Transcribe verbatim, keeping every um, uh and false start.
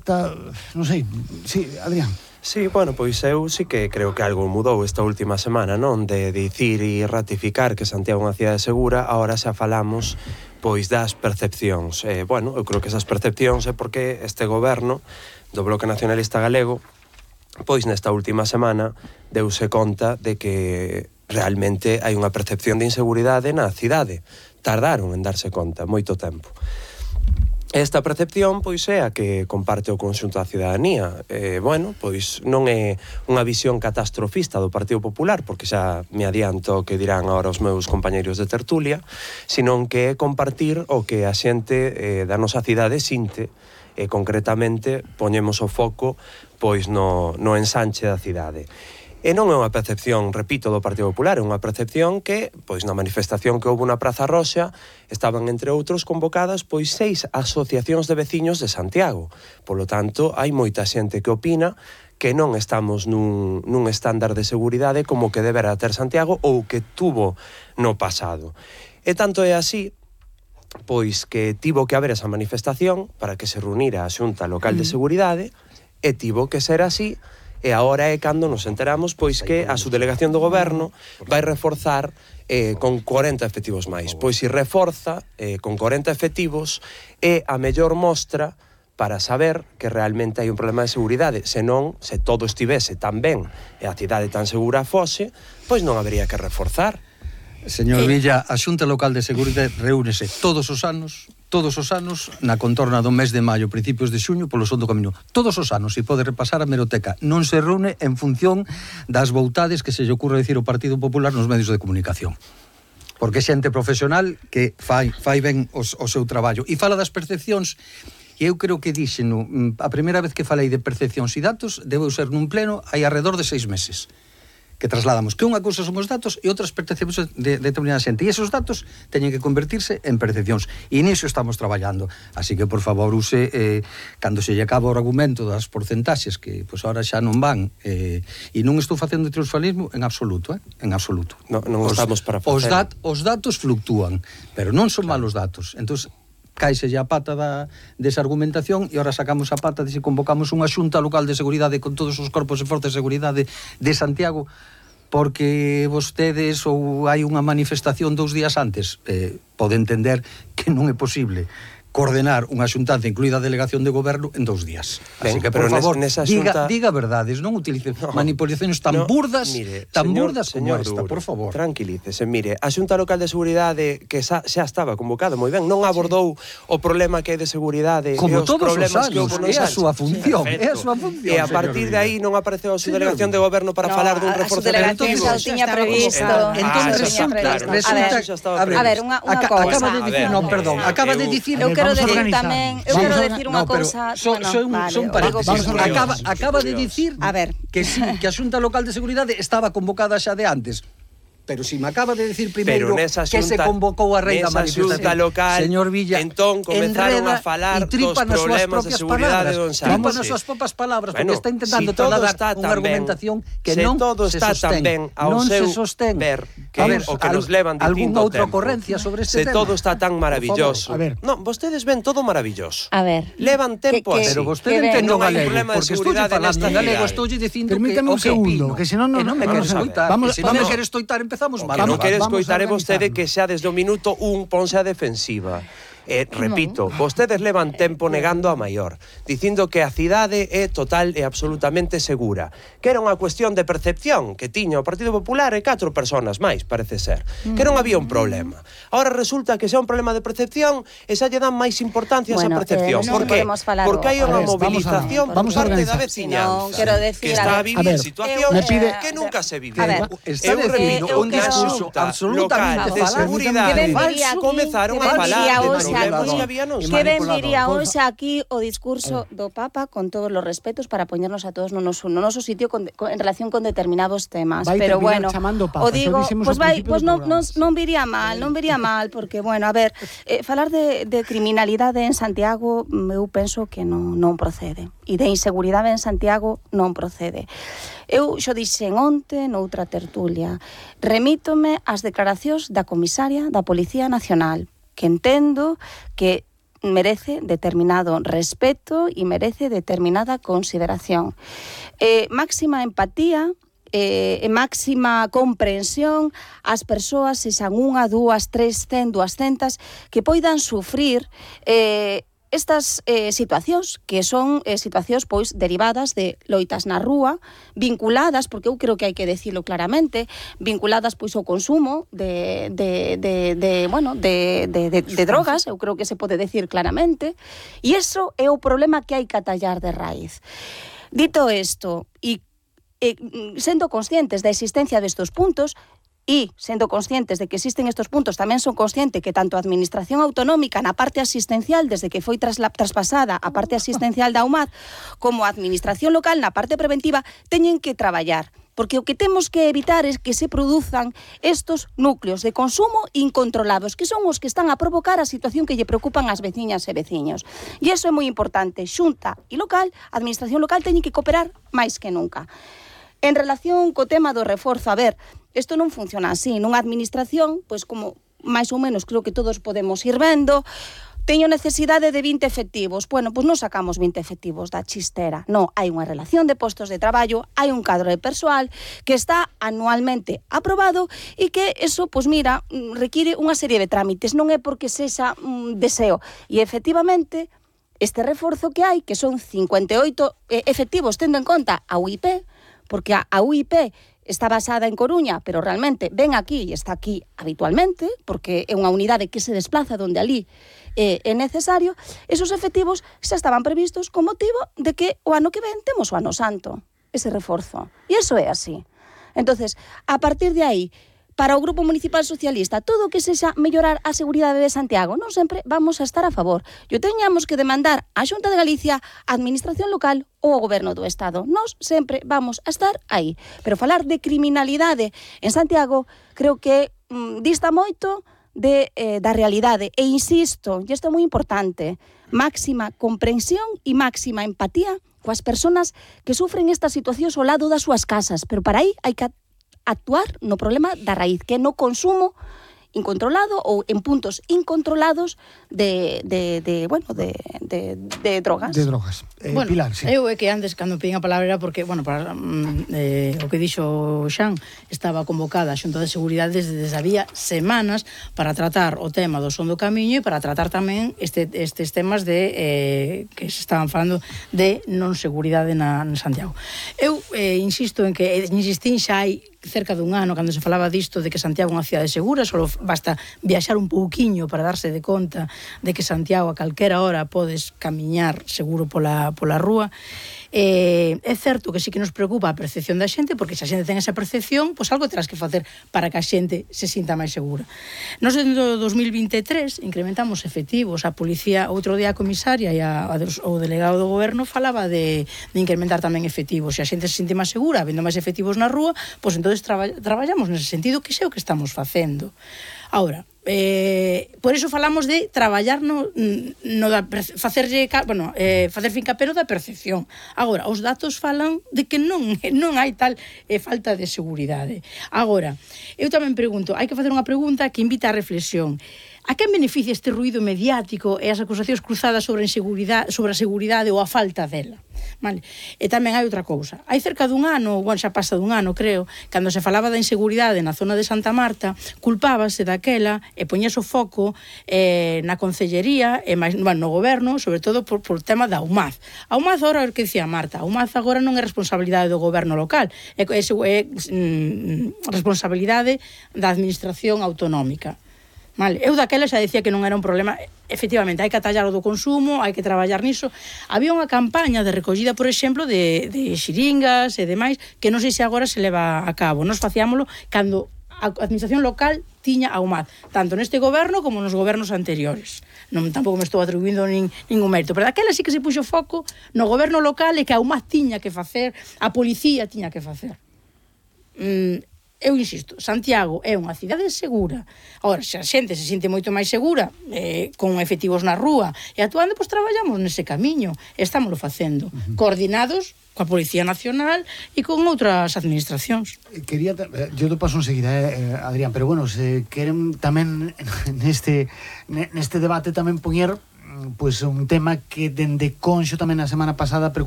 falta, non sei, sí, Adrián. Sí, bueno, pois eu sí que creo que algo mudou esta última semana, non? De dicir e ratificar que Santiago é unha cidade segura, agora xa falamos pois das percepcións. Eh, bueno, eu creo que esas percepcións é porque este goberno do Bloque Nacionalista Galego pois nesta última semana deuse conta de que realmente hai unha percepción de inseguridade na cidade. Tardaron en darse conta moito tempo. Esta percepción, pois, é a que comparte o conxunto da cidadanía. Eh, bueno, pois non é unha visión catastrofista do Partido Popular, porque xa me adianto que dirán agora os meus compañeiros de tertulia, senón que é compartir o que a xente eh, da nosa cidade sinte, e concretamente poñemos o foco pois no, no ensanche da cidade. E non é unha percepción, repito, do Partido Popular, é unha percepción que, pois na manifestación que houve na Praza Roxa, estaban, entre outros, convocadas pois seis asociacións de veciños de Santiago. Polo tanto, hai moita xente que opina que non estamos nun, nun estándar de seguridade como que debera ter Santiago ou que tuvo no pasado. E tanto é así, pois que tivo que haber esa manifestación para que se reunira a Xunta Local de Seguridade, e tivo que ser así. E agora é cando nos enteramos pois que a subdelegación do goberno vai reforzar eh, con corenta efectivos máis. Pois se reforza eh, con corenta efectivos é a mellor mostra para saber que realmente hai un problema de seguridade. Se non, se todo estivese tan ben e a cidade tan segura fose, pois non habería que reforzar. Señor Villa, a Xunta Local de Seguridade reúnese todos os anos, todos os anos, na contorna do mes de maio, principios de xuño, polo son do camiño. Todos os anos, e pode repasar a meroteca. Non se reúne en función das voutades que se lle ocurre dicir o Partido Popular nos medios de comunicación. Porque é xente profesional que fai, fai ben os, o seu traballo. E fala das percepcións, e eu creo que dixeno, a primeira vez que falei de percepcións e datos, debeu ser nun pleno hai alrededor de seis meses. Que trasladamos que unha cousa son os datos e outras percepcións de, de determinada xente. E esos datos teñen que convertirse en percepcións. E niso estamos traballando. Así que, por favor, use, eh, cando se lle acaba o argumento das porcentaxes, que pois ahora xa non van, eh, e non estou facendo triunfalismo en absoluto, eh? En absoluto. No, non os, estamos para facer. Os, dat, os datos fluctúan, pero non son claro. Malos datos. Entón, caixelle a pata da, desa argumentación e ahora sacamos a pata de se convocamos unha xunta local de seguridade con todos os corpos e forzas de seguridade de Santiago porque vostedes ou hai unha manifestación dous días antes. Eh, pode entender que non é posible coordenar unha xuntanza, incluída a delegación de goberno, en dous días. Ben, así que, por favor, nesa diga, xunta... diga verdades, non utilice no, manipulacións tan no, burdas, mire, tan señor, burdas como esta, Duro, por favor. Tranquilícese, mire, a Xunta Local de Seguridade, que xa, xa estaba convocada moi ben, non abordou sí. o problema que é de seguridade como e os todos problemas os anos, que houve nos é a súa función, sí, é a súa función. E a partir de aí non apareceu a subdelegación de goberno para no, falar dun reforzamento. A subdelegación xa tiña previsto. Entón, resulta, a ver, unha cousa. Acaba de dicir, non, perdón, acaba de dicir, eu quero decir tamén Eu quero decir unha cousa... Son paréntesis. Acaba de dicir que sí, que a Xunta Local de Seguridade estaba convocada xa de antes. Pero si me acaba de decir primeiro que se convocou a rei da manifestación local, señor Villa, entón comenzaron a falar dos problemas de seguridade do ensanche. Tripa nas súas propias palabras, porque está intentando trasladar unha argumentación que non se sostén. Non se sostén. Ver que o que nos levan algunha distinto outra tempo. ocorrencia sobre este tema. Se todo está tan maravilloso. Non, vostedes ven todo maravilloso. A ver. Levan tempo así. Pero vostede entende o galego, porque estou falando en galego, estou dicindo que permítame un segundo, que senón non me quero escoitar. Se non me quero escoitar, empezamos mal. Que non quere escoitar é vostede que xa desde o minuto un ponse a defensiva. Eh, repito, no. vostedes levan tempo negando a maior, dicindo que a cidade é total e absolutamente segura, que era unha cuestión de percepción que tiña o Partido Popular e catro persoas máis, parece ser, que non había un problema. Ahora resulta que xa un problema de percepción e xa lle dan máis importancia bueno, a esa percepción. Eh, Por que? Porque hai unha movilización por parte da veciñanza, no, decir, que está a vivir situacións pide... que nunca se viviu. Está dicindo un discurso absolutamente de seguridade falso, comezaron a falar de problemas que había non. Que ben viría hoxe aquí o discurso do Papa con todos os respetos para poñernos a todos no noso, no noso sitio con, con, en relación con determinados temas, vai pero bueno, papa, o digo, pois pues vai, pois pues non, non, non viría mal, non viría mal, porque bueno, a ver, eh, falar de, de criminalidade en Santiago, eu penso que non, non procede, e de inseguridade en Santiago non procede. Eu xo dixen onte noutra tertulia, remítome ás declaracións da comisaria da Policía Nacional, que entendo que merece determinado respeto e merece determinada consideración. Eh, máxima empatía eh, e máxima comprensión ás persoas, sexan unha, dúas, tres, cen, duascentas, que poidan sufrir eh, estas eh, situacións, que son eh, situacións pois derivadas de loitas na rúa, vinculadas, porque eu creo que hai que decirlo claramente, vinculadas pois ao consumo de, de, de, de bueno, de, de, de, de drogas, eu creo que se pode decir claramente, e iso é o problema que hai que atallar de raíz. Dito isto, e, e sendo conscientes da existencia destes puntos, e sendo conscientes de que existen estes puntos, tamén son consciente que tanto a Administración Autonómica na parte asistencial, desde que foi trasla, traspasada a parte asistencial da U M A D, como a Administración Local na parte preventiva, teñen que traballar. Porque o que temos que evitar é que se produzan estos núcleos de consumo incontrolados, que son os que están a provocar a situación que lle preocupan ás veciñas e veciños. E iso é moi importante. Xunta e local, a Administración Local teñen que cooperar máis que nunca. En relación co tema do reforzo, a ver, isto non funciona así. Nunha administración, pois como máis ou menos creo que todos podemos ir vendo, teño necesidade de vinte efectivos. Bueno, pois non sacamos vinte efectivos da chistera. Non, hai unha relación de postos de traballo, hai un cadro de persoal que está anualmente aprobado e que eso, pois mira, require unha serie de trámites. Non é porque sexa un deseo. E efectivamente, este reforzo que hai, que son cincuenta e oito efectivos, tendo en conta a U I P, porque a U I P está basada en Coruña, pero realmente ven aquí e está aquí habitualmente, porque é unha unidade que se desplaza donde ali eh, é necesario, esos efectivos xa estaban previstos con motivo de que o ano que ven temos o ano santo, ese reforzo. E iso é así. Entonces, a partir de aí, para o Grupo Municipal Socialista, todo o que sexa mellorar a seguridade de Santiago, non sempre vamos a estar a favor. E teñamos que demandar á Xunta de Galicia, a Administración Local ou ao Goberno do Estado. Nós sempre vamos a estar aí. Pero falar de criminalidade en Santiago creo que mm, dista moito de, eh, da realidade. E insisto, e isto é moi importante, máxima comprensión e máxima empatía coas persoas que sufren estas situacións ao lado das súas casas. Pero para aí hai que actuar no problema da raíz, que é no consumo incontrolado ou en puntos incontrolados de, de, de bueno, de, de, de drogas. De drogas. Eh, bueno, Pilar, sí. Eu é que antes, cando pedín a palabra, era porque, bueno, para, eh, o que dixo Xan, estaba convocada a Xunta de Seguridade desde, desde había semanas para tratar o tema do son do camiño e para tratar tamén este, estes temas de eh, que se estaban falando de non seguridade na, na Santiago. Eu eh, insisto en que, insistín xa hai cerca dun ano, cando se falaba disto de que Santiago é unha cidade segura, só basta viaxar un pouquiño para darse de conta de que Santiago a calquera hora podes camiñar seguro pola, pola rúa. Eh, é certo que sí que nos preocupa a percepción da xente, porque se a xente ten esa percepción, pois algo terás que facer para que a xente se sinta máis segura. Nos en dos mil vinte e tres incrementamos efectivos, a policía, outro día a comisaria e a, a, o delegado do goberno falaba de, de incrementar tamén efectivos. Se a xente se sinte máis segura, vendo máis efectivos na rúa, pois entón traba, traballamos nese sentido, que sei o que estamos facendo. Ahora, eh, por eso falamos de traballar no, no da facerlle, bueno, eh, facer fincapé da percepción. Agora, os datos falan de que non non hai tal eh, falta de seguridade. Agora, eu tamén pregunto, hai que facer unha pregunta que invita á reflexión. A quen beneficia este ruído mediático e as acusacións cruzadas sobre a inseguridade, sobre a seguridade ou a falta dela? Vale. E tamén hai outra cousa. Hai cerca dun ano, bueno, xa pasa dun ano, creo, cando se falaba da inseguridade na zona de Santa Marta, culpábase daquela e poñase o foco eh, na Concellería e máis, bueno, no goberno, sobre todo por, por tema da U M A D. A U M A D agora, o que dicía Marta, a U M A D agora non é responsabilidade do goberno local, é, é, é mm, responsabilidade da administración autonómica. Vale. Eu daquela xa decía que non era un problema. Efectivamente, hai que atallar o do consumo, hai que traballar niso. Había unha campaña de recollida, por exemplo, de, de xiringas e demais, que non sei se agora se leva a cabo. Nos facíamolo cando a administración local tiña a U M A D, tanto neste goberno como nos gobernos anteriores. Non, tampouco me estou atribuindo nin, ningún mérito, pero daquela sí que se puxo foco no goberno local e que a U M A D tiña que facer, a policía tiña que facer. Mm, Eu insisto, Santiago é unha cidade segura. Agora, se a xente se sinte moito máis segura, eh, con efectivos na rúa e actuando, pois traballamos nese camiño. Estámoslo facendo, uh-huh. coordinados coa Policía Nacional e con outras administracións. Quería, yo te paso enseguida, eh, Adrián, pero bueno, se queren tamén neste, neste debate tamén poñer pois un tema que dende Conxo tamén a semana pasada preocupou